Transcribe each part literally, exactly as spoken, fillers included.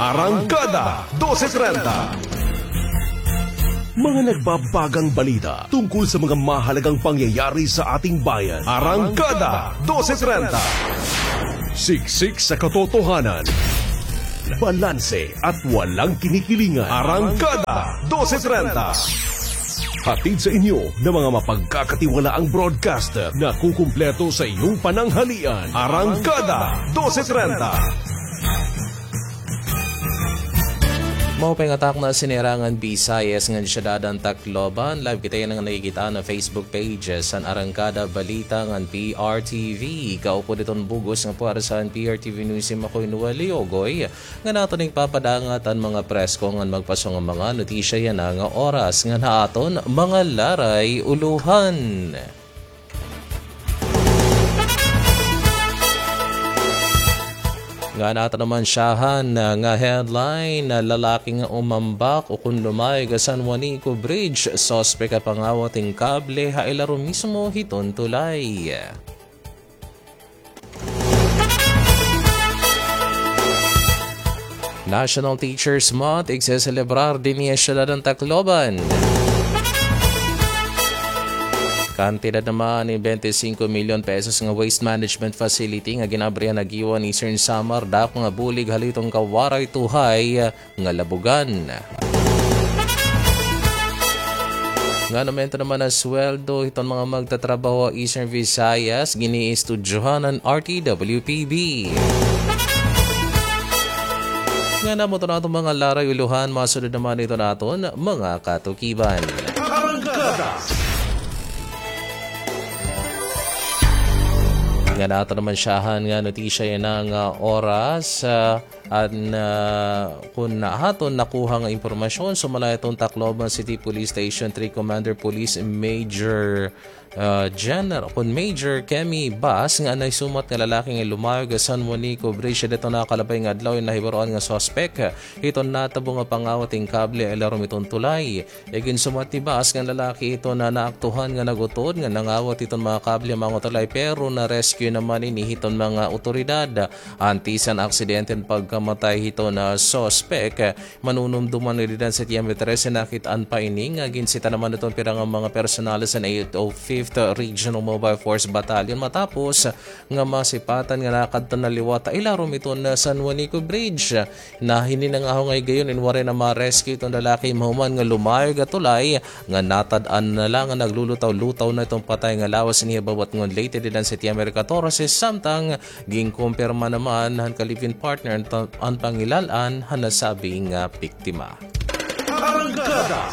Arangkada dose trenta. Mga nagbabagang balita tungkol sa mga mahalagang pangyayari sa ating bayan. Arangkada dose trenta. Siksik sa katotohanan. Balanse at walang kinikilingan. Arangkada dose trenta. Hatid sa inyo ng mga mapagkakatiwalaang broadcaster na kukumpleto sa iyong pananghalian. Arangkada dose trenta. Maupay nga takna, sinirangan Visayas ngan siyudad han Tacloban. Live kita yana nga nakikita ha Facebook page han Arangkada Balita ngan P R T V. Kaupod hiton bug-os nga puwersa han P R T V News Team, ako hi Noel Leogoy, ngan aton igpapadangat an mga presko ngan magpaso nga mga notisya yana nga oras ngan ha aton mga laray ulohan. Ngan aton naman syahan nga headline, lalaki nga umambak ukon lumayog ha San Juanico Bridge, suspek ha pangawat hin kable ha ilarom mismo hiton tulay. National Teachers Month igseselebrar dinhi ha siyudad han Tacloban. Kantidad naman hin bente singko milyon pesos nga waste management facility nga gin-abrihan ha Guiuan, Eastern Samar, dako nga bulig ha liwat hin Kawaray Tuhay nga Labogan. Ngan aumento naman ha sweldo hiton mga magtatrabaho ha Eastern Visayas, giniistudyohan han R T W P B. Ngan amo iton aton mga laray ulohan, masunod naman iton aton mga katukiban. Ngan aton naman syahan nga notisya yana nga oras, ah, an, ah, kun aton nakuha nga impormasyon, sumala iton Tacloban City Police Station three Commander Police Major, ah, General, kun Major Kemi Bas, nga an nahisumat nga lalaki nga lumayog ha San Juanico Bridge, dida iton nakalabay nga adlaw, in nahibaroan nga suspek hiton natabo nga pangawat hin kable ha ilarom hiton tulay. Iginsumat ni Bas nga an lalaki iton naaktuhan nga nag-utod nga nangawat hiton mga kable ha mga tulay, pero na-rescue naman ini hiton mga awtoridad. Antes han aksidente an pagkamatay hiton suspek, manunumduman nga dida han Septiembre trese, nakit-an pa ini nga ginsita naman hiton pira nga mga personalis han eight oh fifth Regional Mobile Force Battalion matapos nga masipatan nga nakadto na liwat ha ilarom hiton San Juanico Bridge. Nahinay nga ahongay gayon in waray na ma-rescue iton lalaki mahuman nga lumayog ha tulay nga natad-an na la nga naglulutaw-lutaw na iton patay nga lawas. Ini ha Babatngon, Leyte, dida han Septiembre katorse, samtang ginkumpirma naman han ka-live-in partner an, an pangilal-an han nasabi nga biktima. Arangkada.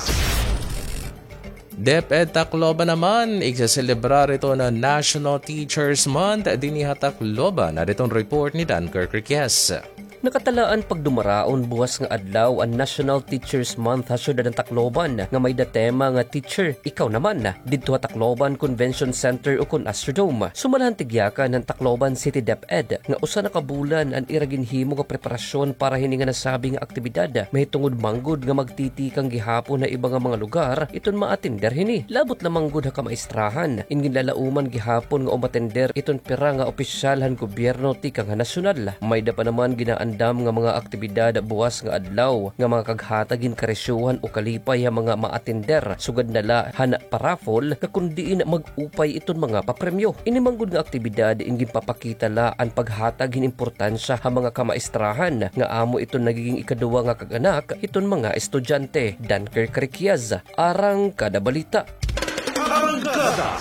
DepEd Tacloban naman igseselebrar iton National Teachers Month dinhi ha Tacloban. Adi iton report ni Dunkirk Riquez. Nakatalaan pagdumaraon buwas nga adlaw an National Teachers Month ha siyudad han Tacloban nga may-ada tema nga Teacher, Ikaw Naman, didto ha Tacloban Convention Center ukon Astrodome. Sumala han tigyakan han Tacloban City DepEd nga usa na ka bulan an ira ginhimo nga preparasyon para hini nga nasabi nga aktibidad, mahitungod man gud nga magtitikang gihapon ha iba nga mga lugar iton maatender hini. Labot la man gud ha kamaistrahan, in ginlalauman gihapon nga umatender iton pira nga opisyal han gobyerno tikang ha nasyonal. May-ada pa naman ginaandam nga mga aktibidad buwas nga adlaw nga makakaghatag hin karisyohan o kalipay ha mga maatender, sugad na la han pa-raffle nga kon diin mag-upay iton mga papremyo. Ini man gud nga aktibidad in ginpapakita la an paghatag hin importansya ha mga kamaistrahan nga amo iton nagiging ikaduwa nga kag-anak hiton mga estudyante. Dunkirk Riquez, Arangkada Balita. Arangkada.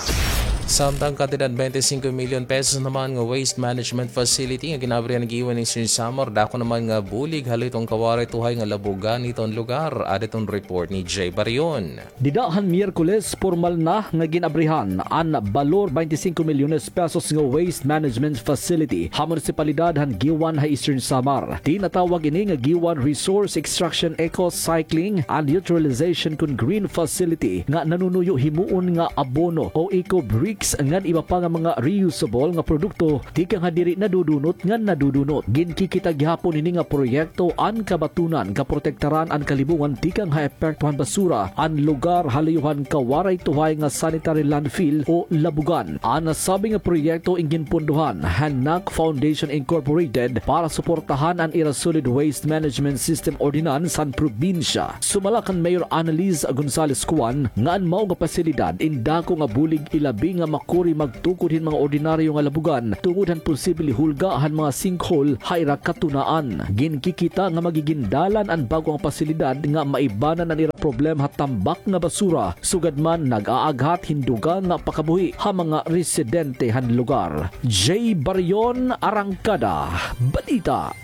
Samtang kantidad bente singko milyon pesos naman nga waste management facility nga gin-abrihan ha Guiuan, Eastern Samar, dako naman nga bulig ha liwat hin Kawaray Tuhay nga Labogan hiton lugar. Adi iton report ni Jay Barion. Dida han Miyerkules, pormal na nga gin-abrihan an balor bente singko milyones pesos nga waste management facility ha munisipalidad han Guiuan ha Eastern Samar. Tinatawag ini nga Guiuan Resource Extraction, Eco Cycling and Utilization kon Green Facility nga nanunuyo himuon nga abono o eco brick ngan iba pa nga mga reusable nga produkto tikang ha diri nadudunot ngan nadudunot. Ginkikita gihapon hini nga proyekto an kabatunan nga protektaran an kalibungan tikang ha epekto han basura an lugar ha luyo han kawaray tuhay nga sanitary landfill o labugan. An nasabi nga proyekto in ginpondohan han NAC Foundation Incorporated para suportahan an ira Solid Waste Management System Ordinance han probinsya. Sumala kan Mayor Annalise Gonzalez Cuan nga an mao nga pasilidad in dako nga bulig ilabi nga makuri magtukod hin mga ordinaryo nga labugan tungod han posible hulga han mga sinkhole ha ira katunaan. Ginkikita nga magigin dalan an bag-o nga pasilidad nga maibanan an ira problema ha tambak nga basura, sugad man nag-aaghat hin dugang nga pakabuhi ha mga residente han lugar. Jay Barion, Arangkada Balita.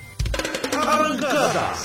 Arangkada.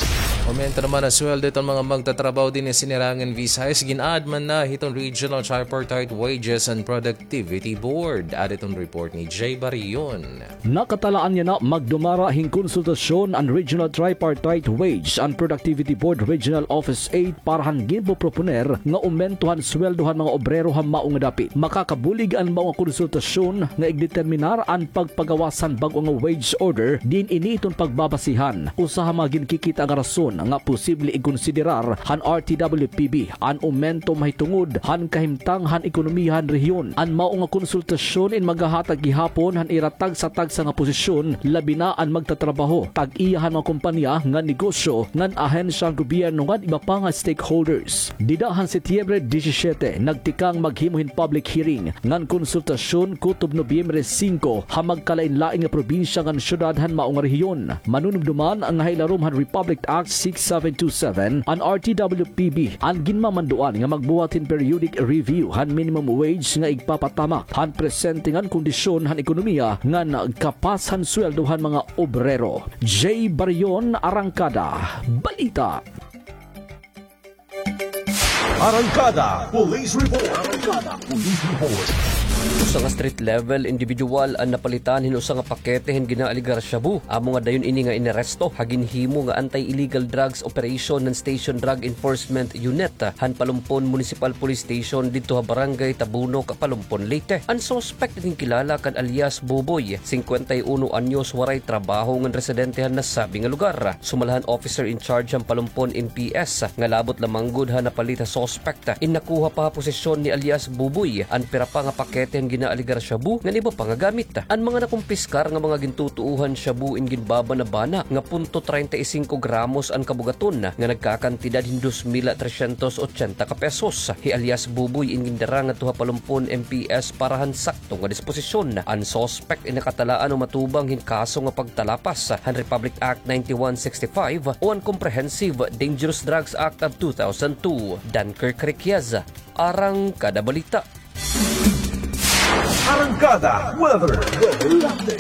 Aumento naman an sweldo hiton mga magtatrabaho dinhi ha Sinirangan, Visayas. Gin-add man na hiton Regional Tripartite Wages and Productivity Board. Aada hiton report ni Jay Barion. Nakatalaan yana magdumara hin konsultasyon an Regional Tripartite Wage and Productivity Board Regional Office eight para han ginpoproponer nga aumento han sweldo han mga obrero ha mao nga dapit. Makakabulig an mao nga konsultasyon nga igdeterminar an pagpagawas han bag-o nga wage order, diin ini iton pagbabasihan. Usa ha mga ginkikita nga rason nga posible ikonsiderar han R T W P B an aumento mahitungod han kahimtang han ekonomiya han rehiyon. An mao nga konsultasyon in magahatag gihapon han ira tagsa-tagsa nga posisyon, labi na an magtatrabaho, tag-iya han mga kompanya ngan negosyo ngan ahensya han gobyerno ngan iba pa nga stakeholders. Dida han Setyembre disisyete, nagtikang maghimo hin public hearing ngan konsultasyon kutob Nobyembre singko ha magkalain-lain nga probinsya ngan syudad han mao nga rehiyon. Manunumdoman nga ha ilarom han Republic Act six seven two seven, an R T W P B an ginmamanduan nga magbuhat hin periodic review han minimum wage nga igpapatamak han presente ngan kondisyon han ekonomiya ngan kapas han sweldo han mga obrero. Jay Barion, Arangkada Balita. Arangkada Police Report. Arangkada Police Report. Usa nga street level individual an napalitan hin usa nga pakete hin ginaaligar shabu. Amo nga dayon ini nga inaresto ha ginhimo nga anti-illegal drugs operation han Station Drug Enforcement Unit han Palompon Municipal Police Station didto ha Barangay Tabunok, Palompon, Leyte. An suspek nga ginkilala kan alias Buboy, singkwenta y uno anyos, waray trabaho ngan residente han nasabi nga lugar. Sumala han officer in charge han Palompon M P S nga labot lamang gud ha napalit ha suspek, in nakuha pa ha posesyon ni alias Buboy an pira pa nga pakete han ginaaligar shabu ngan iba pa nga gamit. An mga nakumpiskar nga mga gintutuohan shabu in ginbabana-bana nga punto treinta y cinco gramos an kabugaton nga nagkakantidad hin dos mil trescientos ochenta ka pesos. Hi alias Buboy in gindara ngadto ha Palompon M P S para han sakto nga disposisyon. An suspek in nakatalaan o matubang hin kaso nga pagtalapas han Republic Act ninety-one sixty-five o an Comprehensive Dangerous Drugs Act of two thousand two. Dunkirk Requias, Arangkada Balita. Arangkada Weather.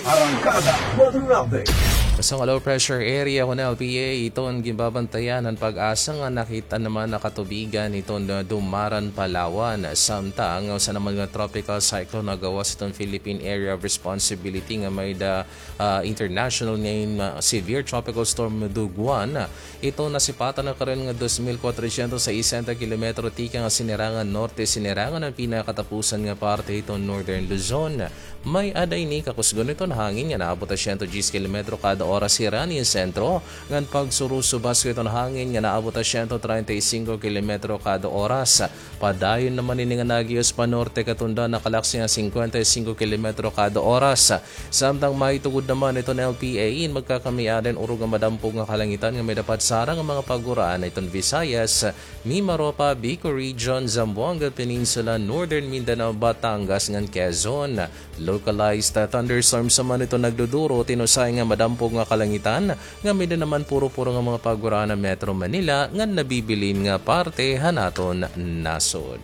Arangkada Weather Update. Usa nga low pressure area kon L P A iton ginbabantayan han PAGASA nga nakit-an naman nga katubigan hiton Dumaran, Palawan. Samtang usa naman nga tropical cyclone nga gawas hiton Philippine Area of Responsibility nga may-ada, ah, international name, ah, Severe Tropical Storm Duguan. Ito nasipatan na karon nga dos mil kwatrosyentos sesenta kilometro tikang ha Sinirangan Norte, Sinirangan an pinakatapusan nga parte hiton Northern Luzon. May-ada ini kakusgon hiton hangin nga naabot ha siyento diyes kilometro kada oras ha Sirani Sentro, ngan pagsurusubas hiton hangin nga naabot ha siyento treinta y cinco kilometro kada oras. Padayon naman ini nga nagihos pa norte katundan nakalaksi nga singkwenta y singko kilometro kada oras. Samtang mahitugod naman iton L P A in magkakamay-ada in urog nga madampog nga kalangitan nga may-ada pagsarang nga mga paguraan iton Visayas, Mimaropa, Bicol Region, Zamboanga Peninsula, Northern Mindanao, Batangas, ngan Quezon. Localized, ah, thunderstorms naman iton nagduduro, tinusay nga madampog nga kalangitan, nga may-ada naman puro-puro nga mga paguraan ha Metro Manila, ngan nabibilin nga parte han aton nasod.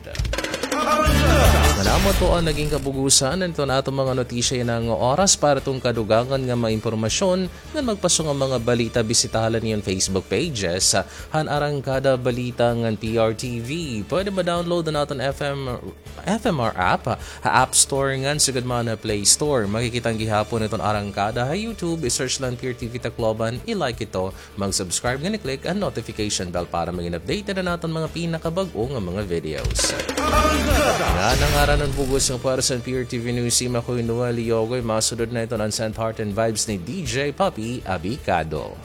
Ngan amo ito an naging kabugusan han aton mga notisya yana nga oras. Para hiton kadugangan nga mga impormasyon, ngan magpaso nga mga balita, bisitaha la niyo an Facebook pages, ah, han Arangkada Balita ngan P R T V. Pwede ma-download an aton F M F M R app ha App Store ngan sugad man ha Play Store. Makikita an gihapon iton Arangkada ha YouTube. I-search la an P R T V Tacloban, i-like ito, mag-subscribe ngan i-click an notification bell para maging updated an aton mga pinakabag-o nga mga videos. Ngan an ngaran Anan bug-os nga para sa P R T V News Team, ako hi Noel Yogoy. Masunod na iton an Saint Heart and Vibes ni D J Papi Abicado.